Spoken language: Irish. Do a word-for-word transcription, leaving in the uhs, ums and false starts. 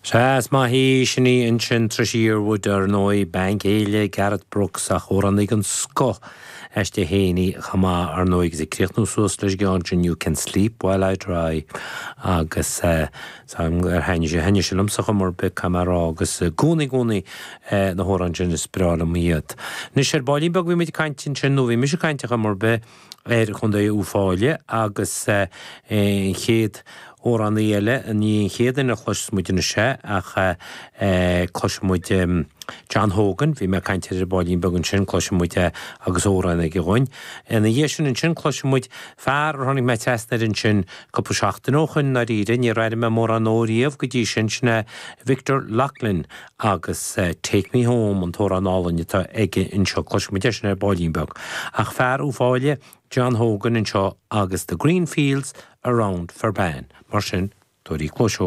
Sea, is maith í sin í ansin Tricia Yearwood ar ndóigh, bean chéile Garth Brooks ach amhránaí den scoth aisti féin í chomh maith ar ndóigh agus ag críochnú suas leis an gceann sin You Can Sleep While I Dry agus ar thaitnigh sé thaitnigh sé liomsa chomh mór bith caithfidh mé a rá agus i gcónaí gcónaí na hamhráin sin is breá liom iad. Anois ar baillín beag bhí muid ag caint ansin nó bhí mise ag caint chomh mór bith ar Chontae Uíbh Fhailí agus an chéad amhránaí eile ní an chéad duine a chloisfeas muid anois é ach cloisfidh muid John Hogan, bhí mé ag caint ar an baillín beag ansin, cloisfidh muid é agus amhrán aige dhúinn. Ina dhiaidh sin ansin cloisfidh muid fear a tháinig mé trasna air ansin cúpla seachtain ó shin ndáiríre, níor airigh mé mórán dó riamh go dtí sin, sin é Victor Loughlin agus Take Me Home an t-amhrán álainn atá aige anseo, cloisfidh muid é sin ar baillín beag. Ach fear Uíbh Fhailí, John Hogan anseo agus The Green Fields Around Ferbane. Mar sin, tabhair cluas.